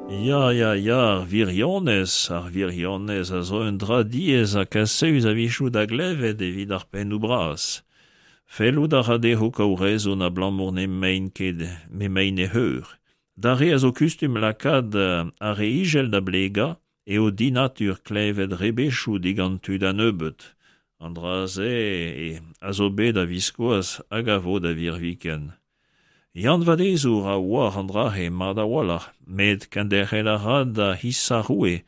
Ya, ya, ya, ar wirionez, ar wirionez a zo un dra diaes ha kasaus a-wechoù da glevet evit ar pennoù bras. Fellout a ra dezho kaout rezon abalamour n'emaint ket m'emaint e c'heur. D'ar re a zo kustum lakaat ar re ijel da blegañ eo dinatur klevet rebechoù digant tud a-nebeut. An dra-se a zo bet a-viskoazh hag a vo da virviken. Yann Vadezour a oar an dra-se mat a-walc'h, met kenderc'hel a ra da hisañ roue.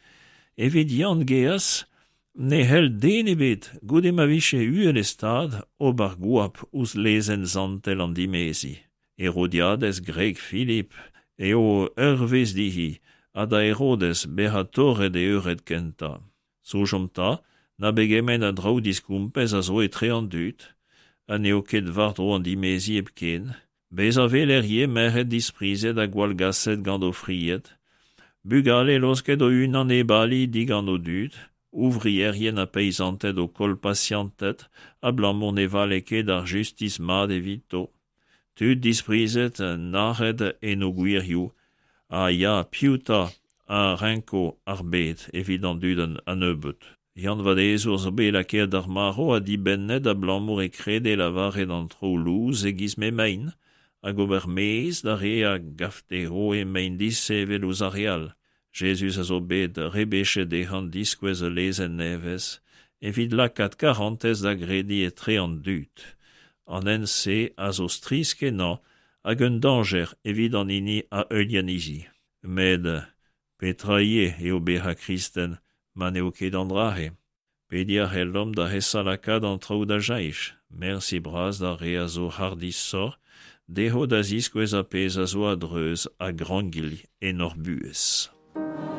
Evit Yann gaezh ne c'hell den ebet, goude ma vije uhel e stad, ober goap ouzh lezenn santel an dimeziñ. Herodiadez, gwreg Filip, eo ur vezh dezhi ha da Herodez bezañ torret e eured kentañ. Soñjomp 'ta na pegement a draoù diskompez a zo etre an dud, ha n'eo ket war-dro an dimeziñ hepken. Bezañ 'weler ivez merc'hed disprizet ha gwallgaset gant o fried, bugale laosket o-unan hep ali digant o dud, ouvrierien ha peizanted o koll pasianted abalamour ne vale ket ar justis mat evito, tud disprizet, nac'het en o gwirioù, ha ya, piv 'ta a renko ar bed evit an dud a-nebeut? Yann Vadezour zo bet lakaet d'ar marv ha dibennet abalamour e krede lavaret an traoù lous e-giz m'emaint hag ober mezh d'ar re a gav dezho emaint disheñvel ouzh ar re all. Jezuz a zo bet rebechet dezhañ diskouez ul lezenn nevez evit lakaat karantez da grediñ etre an dud. An hent-se a zo strizh-kenañ hag un dañjer evit an hini a heuilh anezhi. Met petra ivez eo bezañ kristen ma n'eo ket an dra-se? Pediñ a c'hellomp da esa lakaat an traoù da cheñch. Mersi bras d'ar re a zo hardishoc'h dezho da ziskouez ar pezh a zo a-dreuz ha grangilh en hor buhez.